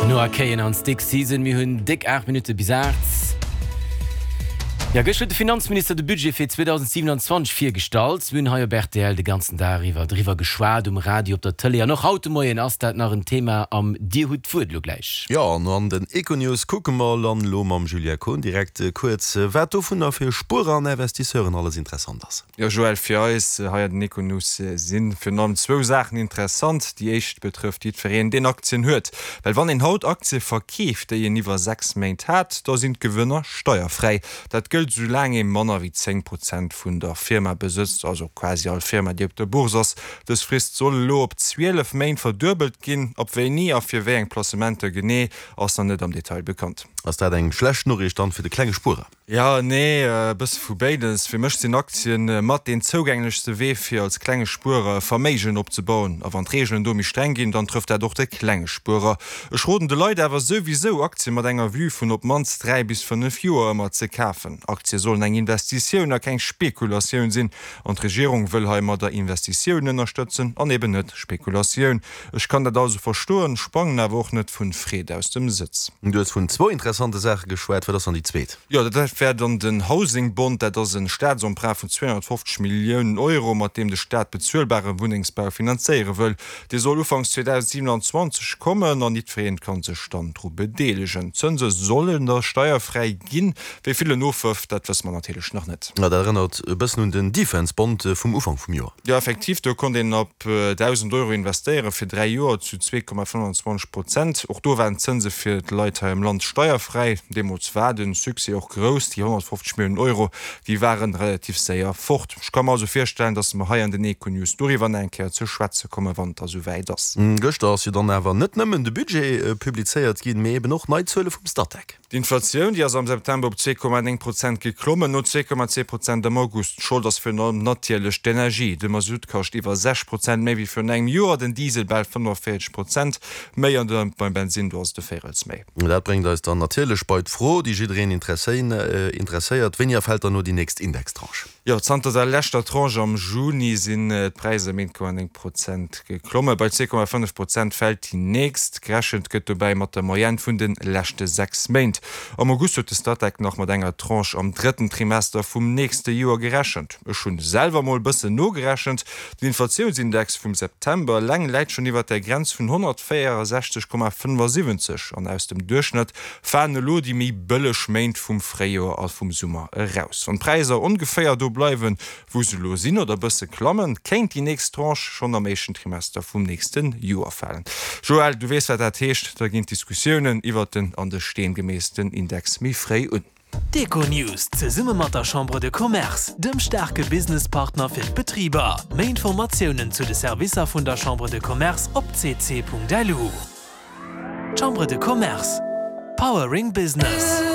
Noah Kahan an Stick Season, mir hunn déck 8 Minutte bis 8. Jo, gëscht huet de Finanzminister de Budget fir 2027 virgestallt. Mir hunn hei op rtl de ganzen Dag iwwer driwwer geschwat, um Radio, op der Tëlee an och haut de Moien ass dat nach en Thema am Dir hutt d'Wuert elo gläich. Jo, an an den Econews kucke mer dann elo mam Julia Kohn direkt kuerz, wat dovunner fir Spuerer an Investisseuren alles interessant ass. Jo Joël, fir eis hei an den Econews si virun allem zwou Saachen interessant. Déi éischt betrëfft jiddwereen, deen Aktien huet. Well wann een haut Aktie verkeeft, déi een iwwer 6 Méint hat, da sinn d'Gewënner steierfräi. Dat gëllt soulaang ee manner wéi 10 Prozent vun der Firma besëtzt, also quasi all Firma, déi op der Bourse ass. Dës Frist soll elo op 12 Méint verduebelt ginn. Ab wéini a fir wéi eng Placementer genee, ass nach net am Detail bekannt. Ass dat eng schlecht Noriicht dann fir de klenge Spuerer? Jo, nee, e bësse vu béides. Fir mech sinn Aktien mat deen zougänglechste Wee fir als klenge Spuerer e Verméigen opzebauen. A wann d'Reegelen do méi streng ginn, dann trëfft dat och de klenge Spuerer. Ech roden de Leit awer souwisou, Aktien mat enger Vue vun op d'mannst 3 bis 5 Joer ëmmer ze kafen. Aktie sollen eng Investitioun a keng Spekulatioun sinn. An d'Regierung wëll heimadder Investitioun ënnerstëtzen an eben net Spekulatioun. Ech kann dat also verstoen, sprangen awer och net vun Freed aus dem Sëtz. Du hues vun zwou interessante Saache geschwat, wat ass dann déi zweet? Jo, dat wär dann den Housing Bond. Dat ass e Staatsemprunt vun 250 Milliounen Euro, mat deem de Staat bezuelbare Wunnengsbau finanzéiere wëll. Dee soll ufanks 2027 kommen an jiddwereen ka sech dann dru bedeelegen. D'Zënse sollen da steierfräi ginn. Wéi vill en ofwërft, dat wësse mer natierlech nach net. Dat erënnert e bëssen un den Defense Bond vum Ufank vum Joer. Jo, effektiv, do konnt een ab 1.000 Euro investéieren, fir 3 Joer zu 2,25 Prozent. Och do waren d'Zënse fir d'Leit hei am Land steierfräi. Deemools war de Succès och grouss, déi 150 Milliounen Euro, déi ware relativ séier fort. Ech ka mer also virstellen, datt mer hei an den Econews doriwwer nach eng Kéier ze schwätze kommen, wann et da souwäit ass. Gëschter ass jo dann awer net nëmmen de Budget publizéiert ginn, mee eben och nei Zuele vum Statec. D'Inflatioun, déi ass am September op 2,9 Prozent geklommen, no 2,2 Prozent am August. Schold ass virun allem natierlech d'Energie. De Masutt kascht iwwer 6 Prozent méi wéi virun engem Joer, den Diesel bal 45 Prozent méi an de beim Bensinn do ass et e Véirels méi. Dat bréngt eis dann natierlech bei d'Fro, déi jiddereen interesséiert, Wéini erfält dann elo déi nächst Indextranche? Jo, zanter der leschter Tranche am Juni sinn d'Präisser ëm 1,9 Prozent geklommen. Bei 2,5 Prozent fält déi nächst. Gerechent gëtt dobäi mat der Moyenne vun de leschte 6 Méint. Am August huet de Statec nach mat enger Tranche am drëtten Trimester vum nächste Joer gerechent. Ech hunn selwer mol bëssen nogerechent, Den Inflatiounsindex vum September eleng läit schonn iwwert der Grenz vun 164,75 an aus dem Duerchschnëtt falen elo déi méi bëlleg Méint vum Fréijoer a vum Summer eraus. Wann d'Präisser ongeféier do bleiwen, wou se elo sinn oder bësse klammen, kéint déi nächst Tranche schonn am éischten Trimester vum nächste Joer falen. Joël, du weess wat dat heescht, da ginn d'Diskussiounen iwwert den an de Steen gemeessten Index méi fréi un. D'Econews zesumme mat der Chambre de Commerce, dem staarke Businesspartner fir d'Betriber. Méi Informatiounen zu de Servicer vun der Chambre de Commerce op cc.lu. Chambre de Commerce, Powering Business.